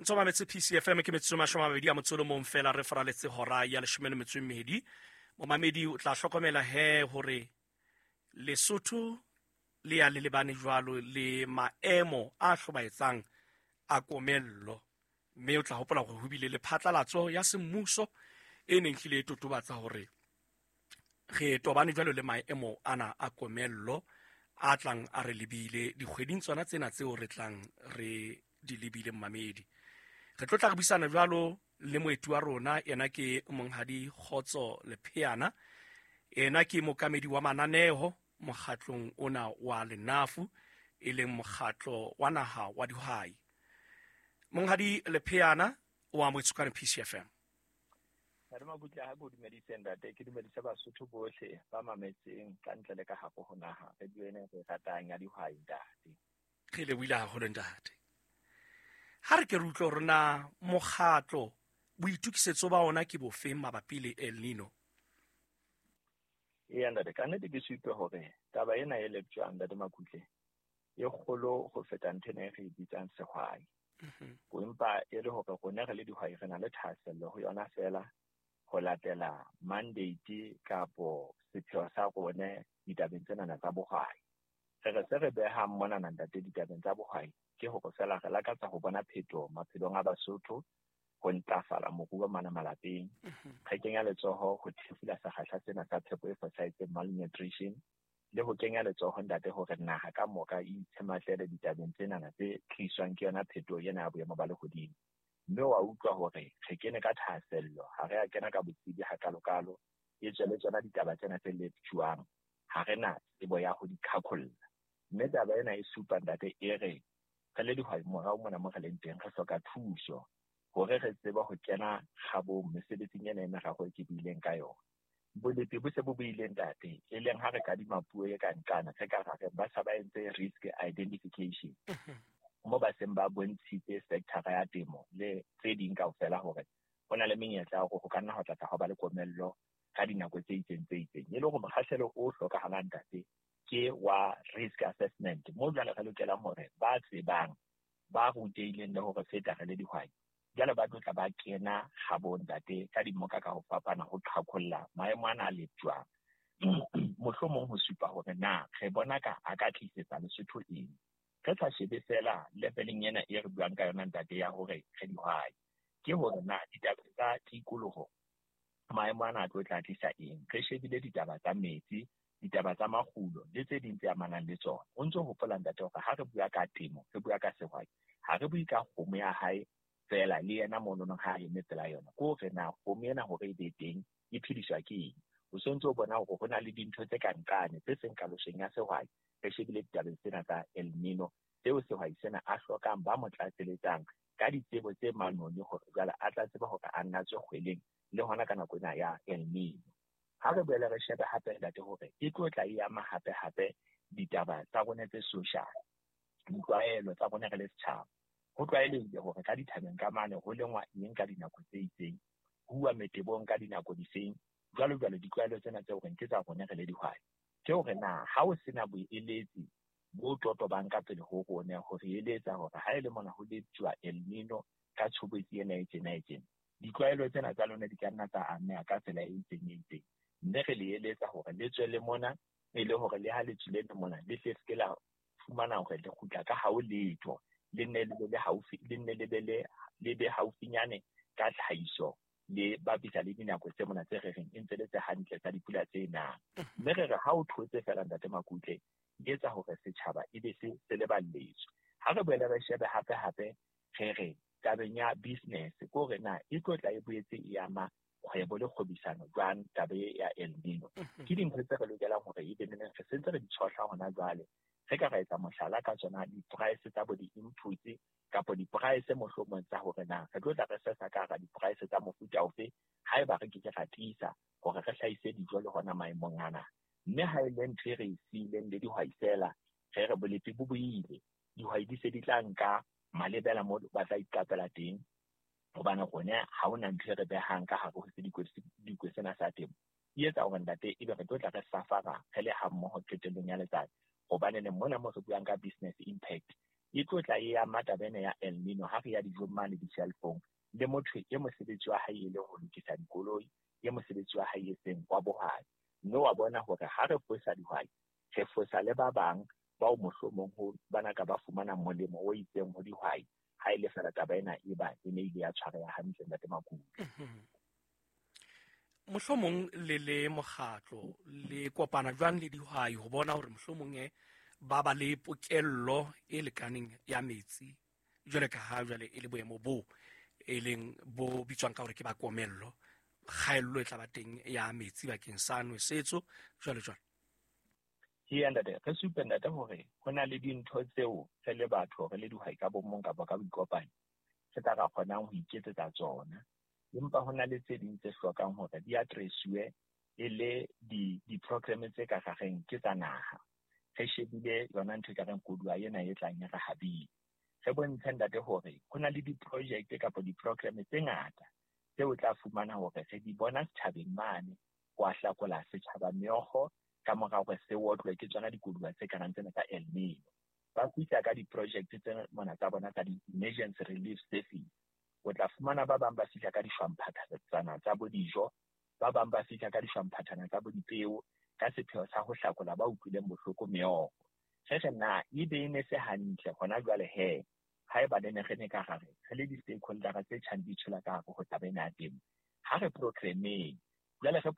Ntse o mametse PCFM, ke metsotso 21 fela re faraletse hora ya 12. Momamedi, o tla hlokomela he hore Lesotho le ya le lebane jwalo le maemo a hlobaetsang a komello, mme o tla hopola hore ho bile le phatlalatso ya semmuso e neng hlile e totobatsa hore re tobane jwalo le maemo ana a komello a tlang a re lebile dikgweding tsona tsena tseo re tlang re di lebile. Mmamedi, re tlo tla re buisana jwalo le moeti wa rona. Yena ke Monghadi Kgotso Lepheana, yena ke mokamedi wa mananeo mokgatlong ona wa Lenafu, e leng mokgatlo wa naha wa dihwai. Monghadi Lepheana, o amohetswe ka PCFM. Ntate Makutle, ha ke o dumedise ntate, ke dumedise Basotho bohle ba mametseng ka ntle le ka hare ho naha radio ena e re ratang ya dihwai, ntate. Re lebohile haholo, ntate. Ha re ke re utlwe hore na mokgatlo boitokisetso ba ona ke bofeng mabapi le El Nino. Eya ntate, ka nnete ke supe hore taba ena e leptjwang, ntate Makutle, e kgolo ho feta ntho ena e re e bitsang sehwai. Empa e le hore rona re le dihwai re na le thahasello ho yona fela ho latela mandate kapo sepheo sa rone ditabeng tsenana tsa bohwai. Re re se re behang monana ntate ditabeng tsa bohwai ke hore fela re lakatsa ho bona phetoho maphelong a Basotho, ho ntlafala moruo mana malapeng. Re kenya letsoho ho thefula sekgahla sena sa phepo e fosahetseng, malnutrition, le ho kenya letsoho ntate hore naha ka moka e itshematlele ditabeng tsenana tse tliswang ke yona phetoho ena ya boemo ba lehodimo. Mme wa utlwa hore re kene ka thahasello, ha re a kena ka botsebi hakalokalo, e tswe le tsona ditaba tsena tse leptjwang, ha re na tsebo ya ho di qhaqholla. Mme taba ena e supa ntate e re re le dihwai morao mona mo re leng teng re hloka thuso hore re tsebe ho kena kgabong mesebetsing ena e meraro e ke buileng ka yona. Bolepi bo se bo buile ntate, e leng ha re kadima puo e ka nqana, re ka ra re ba sa ba entse risk identification, mo ba seng ba bontshitse sector ya temo le tse ding kaofela hore ho na le menyetla ya hore ho ka nna ho tlatla ho ba le komello ka dinako tse itseng tse itseng. E le hore mokgahlelo o hlokahalang ntate ke wa risk assessment, mo jwale re lokelang hore ba tsebang, ba rutehileng le hore feta re le dihwai, jwale ba tlo tla ba kena kgabong ntate ka dimoka ka ho fapana ho qhaqholla maemo ana a leptjwang, mohlomong ho supa hore na re bona ka a ka tlisetsa Lesotho eng. Re sa shebe fela leveleng ena e re buang ka yona ntate ya hore re dihwai, ke hore na ditaba tsa tikoloho maemo ana a tlo tla tlisa eng. Re shebile ditaba tsa metsi, ditaba tsa makgulo le tse ding tse amanang le tsona. O ntso hopola ntate hore ha re bua ka temo, re bua ka sehwai, ha re bue ka kgomo ya hae fela le yena monono ha a eme pela yona. Ke hore na kgomo ena hore e be teng e phediswa ke eng. O sontse o bona hore ho na le dintho tse ka nqane tse seng kaloseng ya sehwai. Re shebile ditabeng tsena tsa El Nino tseo sehwai sena a hlokang ba mo tlatseletsang ka ditsebo tse manoni hore jwale a tla tseba hore a nna tswe kgweleng le hona ka nako ena ya El Nino. Ha re boele re shebe hape ntate hore e tlo tla e ama hape hape ditaba tsa rona tse social, ditlwaelo tsa rona re le setjhaba. Ho tlwaelehile hore ka dithabeng ka mane ho lengwa eng ka dinako tse itseng, ho uwa metebong ka dinako difeng, jwalo jwalo. Ditlwaelo tsena tseo reng ke tsa rona re le dihwai, ke hore na ha o sena boeletsi bo totobang ka pele ho rona ho re eletsa hore ha e le mona ho leptjwa El Nino ka tshobotsi ena e tjena e tjena, ditlwaelo tsena tsa lona di ka nna tsa ameha ka tsela e itseng e itseng. Mme re le eletsa hore le tswe le mona, e le hore le ha le tswile le mona le tle se ke la fumana hore le kgutla ka hao letho, le nne le be le haufi, le nne le be le, le be haufinyane ka tlhahiso le bapisa le dinako tse mona tse re reng e ntse le tse hantle tsa dipula tse nang. Mme re re ha o thotse fela ntate Makutle, di etsa hore setjhaba e be se se leballetswe. Ha re boele re shebe hape hape re re tabeng ya business, ke hore na e tlo tla e boetse e ama kgwebo le kgwebisano jwang taba e ya El Nino. Ke dintho tse re lokelang hore e be neneng re sentse re di tshohla hona jwale. Re ka ra etsa mohlala ka tsona di-price tsa bo di-inputs kapa di-price mohlomong tsa hore na re tlo tla re sesa ka hara di-price tsa mofuta ofe haeba re ke ke ra tiisa hore re hlahise dijo le hona maemong ana. Mme ha e le ntho e re e siileng le dihwai fela, re re bolepi bo boile, dihwai di se di tla nka malebela mo ba tla iqapela teng, hobane rona ha hona ntho e re behang ka hare ho sedikwe sena sa temo. E etsa hore ntate ebe re tlo tla re safara re le ha mmoho qetellong ya letsatsi, hobane ne mona mo re buang ka business impact. E tlo tla e ama taba ena ya El Nino ha re ya dijong mane di-shelf-ong, le motho e mosebetsi wa hae e le ho lokisa dikoloi, e mosebetsi wa hae e seng wa bohwai. Mme wa bona hore ha re fosa dihwai, re fosa le ba bang bao mohlomong ho bana ka ba fumana molemo o itseng ho dihwai, ha e le fela taba ena e ba e ne ile ya tshwareha hantle, Ntate Makutle. Mohlomong le le mokgatlo le kopana jwang le dihwai ho bona hore mohlomong e ba ba le pokello e lekaneng ya metsi, jwale ka ha jwale e le boemo bo e leng bo bitswang ka hore ke ba komello, kgaello e tla ba teng ya metsi bakeng sa nwesetso jwale jwale? Ee, ntate, re supe, ntate, hore ho na le dintho tseo re le batho, re le dihwai ka bomong kapa ka boikopanyo, re tla ra kgonang ho iketsetsa tsona. Empa ho na le tse ding tse hlokang hore di address-uwe e le di-program tse ka rareng ke tsa naha. Re shebile yona ntho e ka reng koduwa ena e tlang e re habile. Re bontshe, ntate, hore ho na le di-project kapa di-program tse ngata tseo o tla fumana hore re di bona setjhabeng mane ho a hlakola setjhaba meokgo ka mora hore se otlwe ke tsona dikoduwa tse karang tsena tsa El Nino. Ba fihla ka di-project tse mona tsa bona tsa di-emergency relief service. O tla fumana ba bang ba fihla ka dishwamphathana tsa bo dijo, ba bang ba fihla ka dishwamphathana tsa bo dipeo ka sepheo sa ho hlakola ba utlwileng bohloko meokgo. Re re na ebe e ne se hantle hona jwale he, haeba ne ne re ne ka hare re le di-stakeholder tse tjhang di tshola ka hare ho taba ena ya temo, ha re programmeng jwale re